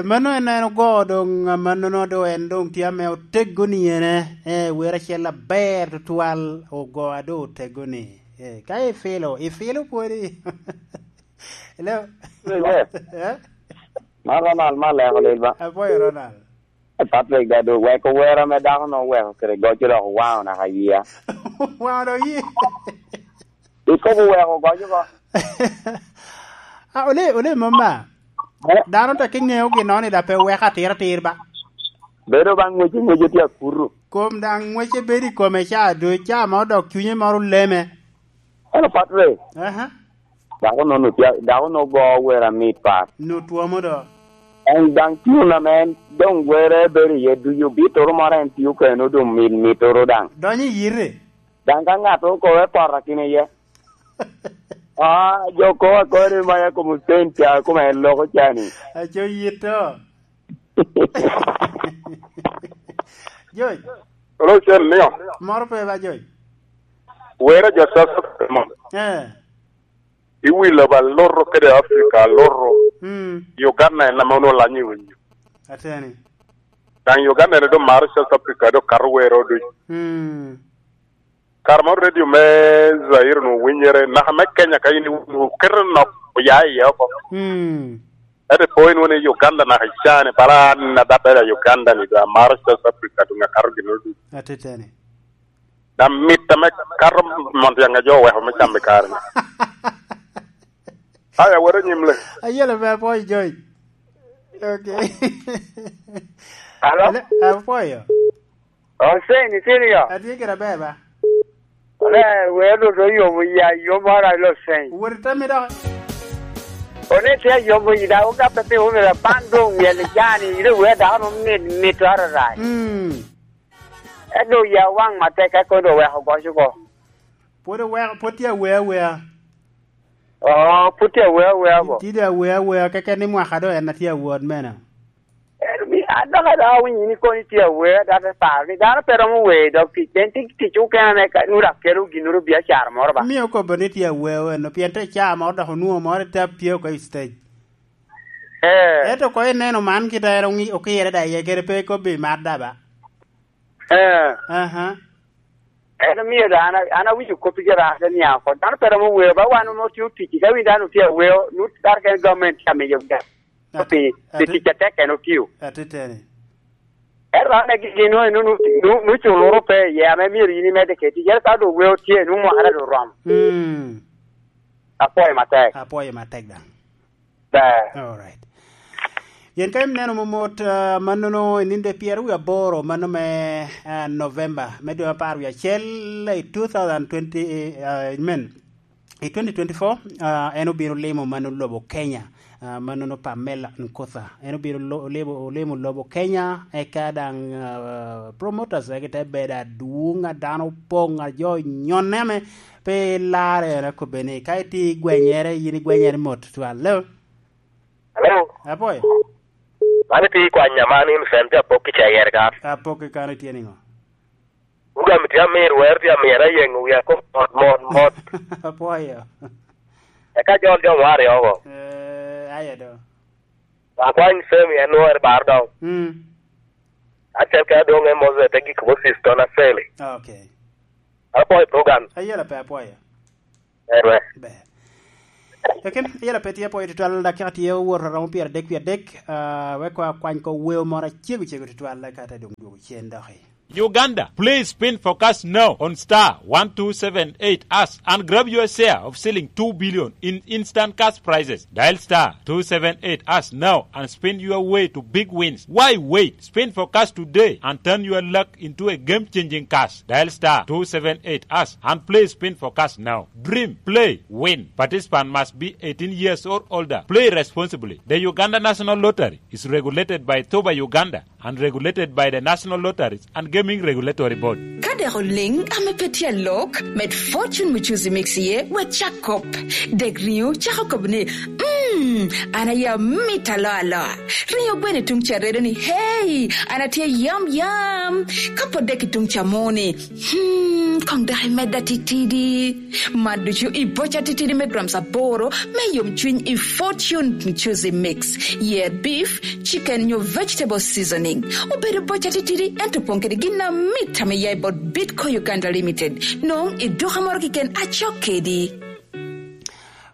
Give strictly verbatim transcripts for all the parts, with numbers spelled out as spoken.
Mano en, en ogo doŋ, amannono doŋ en doŋ tye ame otego ni ene, eh, wer acel aber tutwal ogo a doŋ otego ni. Eh, ka ifilo, ifilo pwodi. Hello? Yes. Eh? Man Ronald, man leko lil ba? Apwoyo Ronald. Eh, Patrick, da doŋ weko wer ame dako no oweko kede goco dok owaŋo naka yia. Waŋo dok yia. Ikobo weko goco ko. Ah, ole, ole mama. Eh? Dano te ki ŋeo gin no ni da pe weko atir atir ba. Bedo ba ŋwece ŋwece tye akuto. Kom daŋ ŋwece bedo i kome ca, do ca ma odok cunye moro leme. Eno Patrick. Aha. Dako no, no tye, dako no go wer amit pat. No twomo do. En daŋ tune ame en doŋ were bedo iye ducu, bitoro moro en tio keno doŋ mit mitoro daŋ. Donyo i yite. Daŋ ka ŋat okobe poto akina iye. Ah, jo ko akore ma ya kom Hussein ca, kom en loko ca ni. Aco yito. Joy. Hello, Chen, niyo. Moro pe ba, Joy. Wera jo South Africa mo. Eh. Iwilo ba loro kede Africa, loro. Mm. Uganda en ame onwoŋo lanyo i winyo. Ateni. Daŋ Uganda en doŋ maro South Africa, doŋ kato wero duc. Mm. Kare moro radio me Zaire onwoŋo winyere, naka me Kenya ka in iwinyo, oketo nok oya iye oko. Mm. Ento po inwoŋo ni Uganda naka icane, pala an adabere a Uganda ni, doŋ amaro South Africa, doŋ akato gin duc. Ateteni. Daŋ mit ame kato mon tyaŋ a jo oweko me camo i kare-ni. Aya, wot anyim le. Ayela pe apwoyo, Joy. Okay. Alo? Ale, apwoyo. Hussein, itye niyo? Atye kede aber ba. Ole, wer lut oyomo ya, yom moro alo Hussein. Wot itami dok. One tye ayomo yi, daŋ ogabbe pi omera, ban doŋ myel i jani, ite wer dako no mit, mit ararat. Mm. Ento ya waŋ matek, eka kono oweko goc oko. Pwod oweko, pwod tye awer awea. Oo, pwod tye awer awea bo. Tye dong awer awea, keken ni mwaka doŋ en a tye awot mene. Ento mi, an dok adaŋ awinyo ni kono itye awer, dok te paro ni dano pe romo wer, dok tic, en tic, tic okene ame ka, nu dok kelo ginnoro biacara moro ba. Mio okobo ni tye awer eno, pien te caa moro dok onwoŋo moro i tap tye oko i stage. Eh. Ento ko ineno man kite en oŋi-, okirre da iye kede pe ikobbi mar da ba. Eh. Aha. En omio da an, an awinyo kop i Jeraren niaŋ oko. Dano pe romo weo, ba wan onwoŋo tye otic, ka winy dano tye aweo, nu dano kene gamente tye amiyo ga. Ati-, pi, pi ati-, tic atek en otio. Atiteni. Ento an agi gin nu, nu, nu, nu, nu culuro pe iye, ame myero in imedde kede tic. Ento ka doŋ weo tye, nu mwaka doŋ oromo. Mm. Apwoyo matek. Apwoyo matek daŋ. Ber. All right. Pien ka ineno momot, ah, mannono i nino de pyeraryo aboro, mano me, ah, November, me dwe apar wie acel i two thousand twenty, ah, I mean, i twenty twenty-four, ah, en obino limo mano lobo Kenya, ah, mannono Pamela Nkotha. En obino lo-, limo, limo lobo Kenya, eka daŋ, ah, promoters egi te bedo adwoŋ, a dano opoŋ, a jo nyonne ame pe larre, en akobbe ni, ka itye i gwenyere, yin igwenyere mot twal. Hello? Hello? Apwoyo. Man itye i kwanya man, in Sam, tye apok i Cayere ka. Apok i kan itye niŋo? Program tye amir, wer tye amir, ayeŋo wiya kop mot, mot, mot. Apwoyo. Eka jol jo ŋwari oko. Eh, aye do. Akwany Sam en nwore bar dong. Mm. Acel ka dong en Moses te gik Moses ton aseli. Okay. Apwoyo program. Ayela pe apwoyo. Ber. Ber. Ekin, yela pe tye apwoyo tutwal, dakika tye owot aromo pyeradek wie adek, ah, wek wa kwany ko weo moro acego cego tutwal, eka te doŋ dwogo cen doki. Uganda, please spin for cash now on star one two seven eight hash and grab your share of shilling two billion in instant cash prizes. Dial star two seven eight hash now and spin your way to big wins. Why wait? Spin for cash today and turn your luck into a game-changing cash. Dial star two seven eight hash and play Spin for Cash now. Dream, play, win. Participant must be eighteen years or older. Play responsibly. The Uganda National Lottery is regulated by T U B A Uganda and regulated by the National Lotteries and Gaming Regulatory Board. Ka dek oliŋ ame pe tye alok, med Fortune Muchuzi Mix iye, wek cak kop. Dek riŋo cako kop ni, "Mm, an aye amit aloa aloa." Riŋo gweno i tuŋ ca redo ni, "Hey, an atye yam yam." Ka pwod dek i tuŋ ca mo ni, "Hmm, Koŋ dok imedda titidi. Mad ducu i boca titidi me grams aboro me yomcwiny i Fortune Juicy Mix. Yer beef, chicken nyo vegetable seasoning. Obedo boca titidi, ento opoŋ kede gin amit ame ya i bot Bitco Uganda Limited. Noŋ i duka moro keken acok kedi.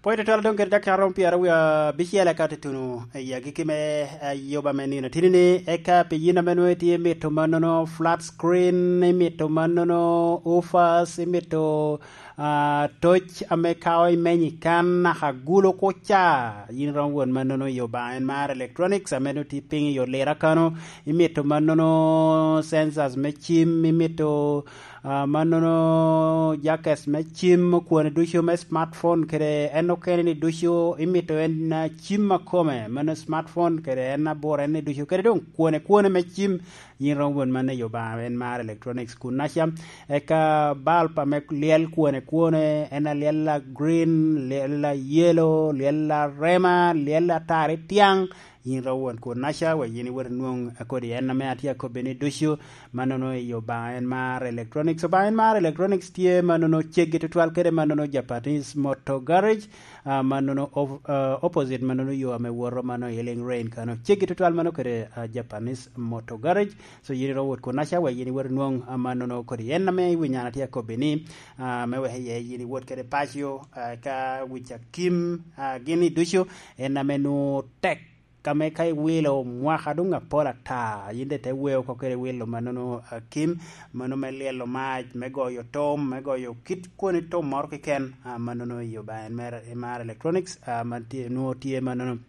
Pwod tutwal doŋ kede dakika romo pyeraryo abicel eka tutuno i agikki me, eh, yoba me nino tini ni, eka pi yin ame nwoŋo itye imito mannono flat screen, imito mannono ufas, imito, ah, toc ame ka imenyo i kan naka gulo kuca, yin romo wot mannono i Obaŋa en mar electronics ame nwoŋo tye piny i Lira kano, imito mannono sensors me cim, imito ah, mannono jackets me cim, okwane ducu me smartphone kede en okene ni ducu imito en, ah, cim akome, mano smartphone kede en abor en ni ducu, kede doŋ kwane kwane me cim, yin romo wot man i Obaŋa en mar electronics kun naca. Eka bulb ame lyel kwane kwane, en alyel a green, lyel a yellow, lyel a rema, lyel a tari tiaŋ, yin romo wot kun naca, wek yin iwot inwoŋ kodi en ame atye akobbi ni ducu, mannono i Obaŋa en mar electronics. Obaŋa en mar electronics tye mannono ceggi tutwal kede mannono Japanese Motor Garage, ah, mannono of-, ah, opposite mannono yo ame woto mannono i Ealing Rain kano. Ceggi tutwal mano kede, ah, Japanese Motor Garage. So yin iromo wot kun naca, wek yin iwot inwoŋ, ah, mannono kodi en ame iwinyo an atye akobbi ni, ah, me wek iye yin iwot kede paco, ah, ka wic akim, ah, gin i ducu, en ame nwoŋo tek ka me ka iwilo mwaka doŋ apol ata, yin daŋ ite weo oko kede wilo mannono, ah, kim, mano me lyelo mac, me goyo tom, me goyo kit kwoni tom moro keken, ah, mannono i Obaŋa en mer, i mar electronics, ah, man tye, nwoŋo tye mannono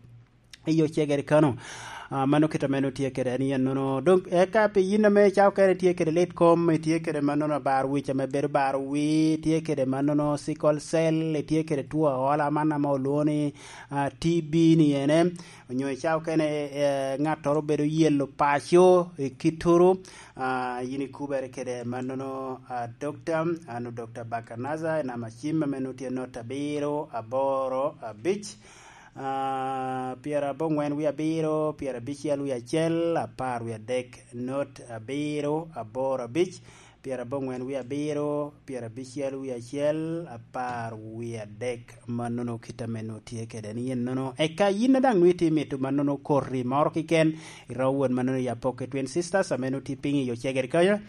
i Ocegere kano. Ah, mano kit ame nwoŋo tye kede en yen nono. Doŋ eka pi yin ame icako kene itye kede lit kom, itye kede mannono abar wic ame bedo baro wii, itye kede mannono sickle cell, itye kede two aola man ame olwoŋo ni, ah, T B ni ene. Onyo icako kene, eh, ŋattoro obedo yelo paco i kittoro, ah, yin ikubere kede mannono, ah, dokta, anu Dokta Bakanaza, i namba cim ame nwoŋo tye not abiro, aboro, abic, ah, pyeraboŋwen wie abiro, pyerabicel wie acel, apar wie adek, not abiro, aboro, abic, pyeraboŋwen wie abiro, pyerabicel wie acel, apar wie adek, mannono kit ame nwoŋo tye kede ni yen nono. Eka yin a daŋ nwoŋo itye mito mannono koti moro keken, iromo wot mannono i Apokke Twin Sisters, ame nwoŋo tye piny i Ocegere kanya.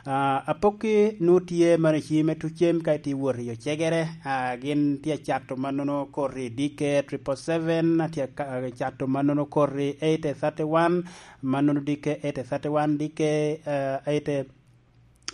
Ah, Apokke nwoŋo tye mannono i cim me tucem ka itye wot i Ocegere, ah, gin tye acato mannono koti dikke triple seven, atye aka-, acato mannono koti eight thirty-one, mannono dikke eight thirty-one, dikke, ah, eight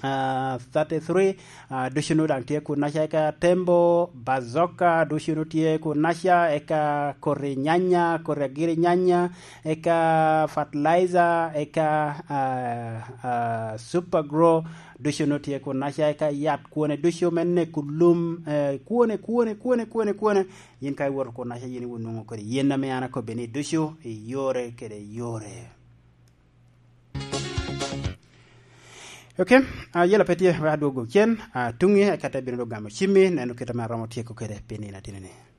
ah, thirty-three, ah, ducu nu daŋ tye kun naca, eka Tembo, Bazoka, ducu nu tye kun naca, eka koti nyanya, koti agiri nyanya, eka fertilizer, eka, ah, ah, Super Grow, ducu nu tye kun naca, eka yat kwone ducu me neko lum, eh, kwone, kwone, kwone, kwone, kwone. Yin ka iwoto kun naca, yin iwinyo nwoŋo kodi yen ame an akobbi ni ducu i yore kede yore. Ok, ah, yela pe tye, wek adwog cen, ah, tuŋi, eka te bino dok gamo cimmi, neno kit ame aromo tyeko kede pi nino atino-ni.